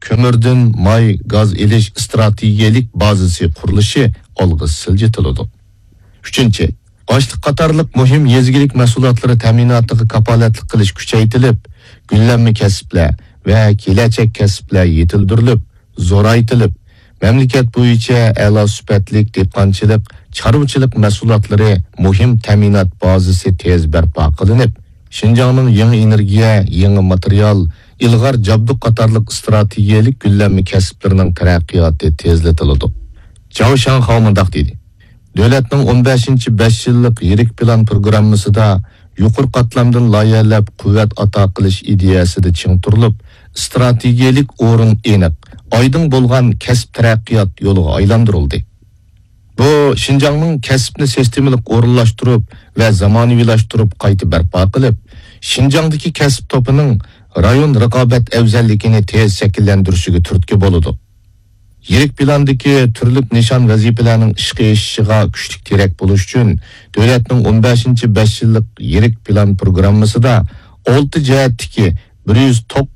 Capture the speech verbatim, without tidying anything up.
كۆمۈردىن ماي، گاز ئېلىش ئىستراتېگىيەلىك بازىسى قۇرۇلۇشى ئالغا سىلجىتىلىدۇ. ئۈچىنچى، ئاشلىق قاتارلىق مۇھىم يېزا ئىگىلىك مەھسۇلاتلىرى تەمىناتىغا كاپالەتلىك قىلىش كۈچەيتىلىپ، گۈللەنمە كەسىپلەر ۋە كېلەچەك كەسىپلەر يېتىلدۈرۈلۈپ، زورايتىلىپ، مەملىكەت بويىچە ئەلا سۈپەتلىك دېھقانچىلىق، چارۋىچىلىق مەھسۇلاتلىرى مۇھىم تەمىنات بازىسى تېز بەرپا قىلىنىپ، شىنجاڭنىڭ يېڭى ئېنېرگىيە، يېڭى ماتېرىيال، ئىلغار جابدۇق قاتارلىق ئىستراتېگىيەلىك گۈللەنمە كەسىپلىرىنىڭ تەرەققىياتى تېزلىتىلىدۇ. جاۋ شاڭخاۋ مۇنداق دېدى: دۆلەتنىڭ ئون بەشىنچى بەش يىللىق يىرىك پىلان پروگراممىسىدا يۇقىرى قاتلامدىن لايىھەلەپ قۇۋۋەت ئاتا قىلىش ئىدىيەسىدە چىڭ تۇرۇلۇپ، ئىستراتېگىيەلىك ئورۇن ئېنىق، ئايدىڭ بولغان كەسىپ تەرەققىيات يولىغا ئايلاندۇرۇلدى. بۇ شىنجاڭنىڭ كەسىپنى سىستېمىلىق ئورۇنلاشتۇرۇپ ۋە زامانىۋىلاشتۇرۇپ قايتا بەرپا قىلىپ، شىنجاڭدىكى كەسىپ توپىنىڭ رايون رىقابەت ئەۋزەللىكىنى تېز شەكىللەندۈرۈشىگە تۈرتكە بولىدۇ. يىرىك پىلاندىكى تۈرلۈك نىشان ۋەزىپىلەرنىڭ ئىشقا ئېشىشىغا كۈچلۈك تىرەك بولۇش ئۈچۈن، دۆلەتنىڭ ئون بەشىنچى بەش يىللىق يىرىك پىلان پروگراممىسىدا ئالتە جەھەتتىكى بىر يۈز توققۇز